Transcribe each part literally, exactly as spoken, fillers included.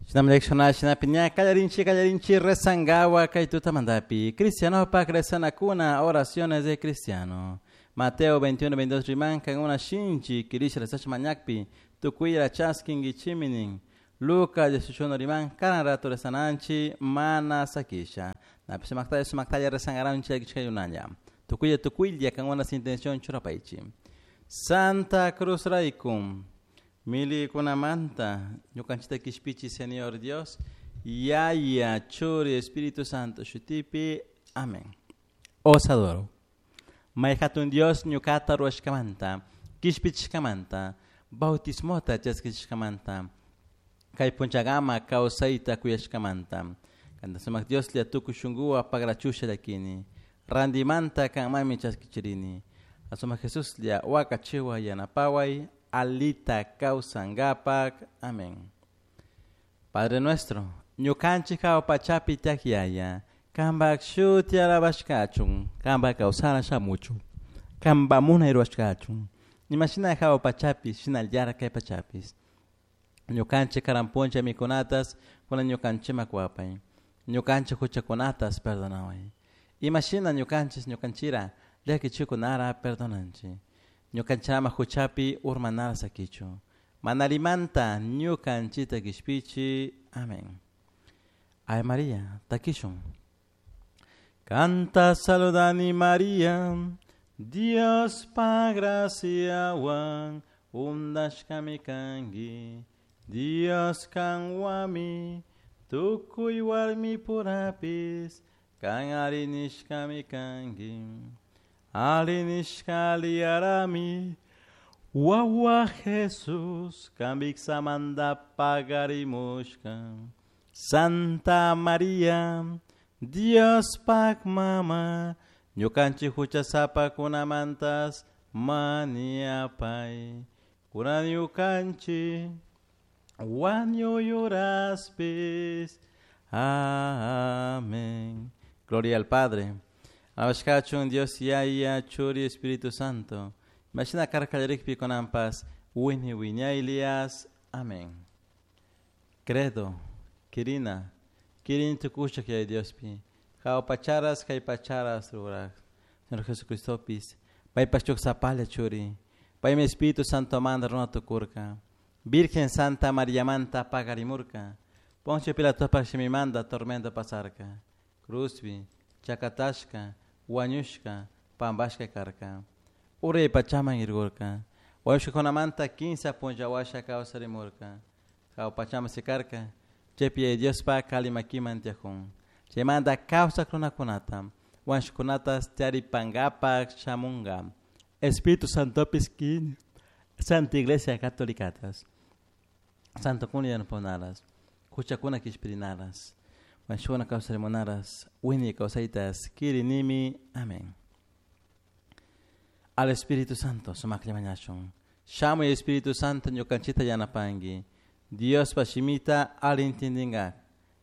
Shinam shinapi kallarinchi kallarinchi rezangawa kay tutamantapi. Cristiano pak rezanakuna oraciones de cristiano. Mateo veintiuno veintidós riman kankuna shinchi kirisha rezash mañakpi tukuyra chaskinkichiminin. Lucas dieciocho riman karan rato rezananchi mana sakisha. Napi sumaktalla sumaktalla rezangaranchi yakichkayunalla. Tukuya tukuylla kankuna intención churapaychi. Santa Cruz raykum. Milikunamanta, ñukanchita kishpichi Señor Dios, Yaya, Churi, Espíritu Santo, Shutipi, Amén. Os adoro. Mayhatun Dios ñukata ruashkamanta, kishpichishkamanta, bautismota chaskishkamanta, kay punchagama kawsayta kuyashkamanta. Kanta sumak Dios lia tukuy shunkuwa pagrachusha llakini, randimanta kanmami chaskichirini. Asumak Jesus lia wakachiwa yanapaway, alita kawsangapak. Amén. Padre nuestro, ñukanchik hawa pachapi tiyak yaya, kanpak shuti alabashkachun, kanpak kawsana shamuchun, kanpak munay ruwashkachun, imashina hawa pachapi, shinallara kay pachapis. Ñukanchik karan puncha mikunatas, kunan ñukanchikman kuwapay, ñukanchik huchakunatas perdonaway. Imashina ñukanchis ñukanchira llakichikunara perdonanchik. Ñukanchama huchapi urmanara sakichu. Manalimanta ñukanchita kishpichi. Amén. Ave María, takishun. Canta saludani María, Dios pa graciawan, undashkami kanki, Dios kanwami, tukuy warmi purapis, kan arinishkami kanki. Arinishka liarami, wawa Jesus, kambiksamanda pagarimushka. Santa María, Dios pak mama, ñukanchik huchasapa kunamantas maniapay. Kuna ñukanchik wañuyuraspis. Amén. Gloria al Padre. Abashkachun Dios Yaya, Churi, Espíritu Santo. Imagina karkallarikpi konampas, wini wiñaylias. Amén. Credo, Kirina, Kirin tukushak yay Diospi. Hawa pacharas, kay pacharas rurak. Señor Jesucristopis, paypashchuk sapalla churi. Paymi Espíritu Santo manda runa tukurka. Virgen Santa María manta pagarimurka. Poncio Pilatopak shimimanta tormento pasarka. Cruzbi, chakatashka, wañushka, pampashka karka. Uray pachaman irgurka. Wañushkakunamanta kinsa punllawasha kawsarimurka. Hawa pachaman sikarka. Chaypi Diospa kalimakiman tiyajun. Chaymanta kawsak runakunata, wañushkunatas tiyaripankapak shamunka. Espíritu Santopis kini. Santa Iglesia Católicatas. Santo kuna yanapanaras. Huchakuna kishpirinaras. Wañushkuna kawsarimunaras. Wini kawsaytas kirinimi. Amén. Al Espíritu Santo sumaklla mañashun. Shamuy Espíritu Santo ñukanchita yanapanki. Dios pashimita ali intindingak.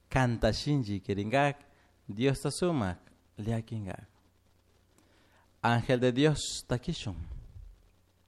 Kanta shinchi kiringak. Dios ta sumak llakinkak. Ángel de Dios takishun.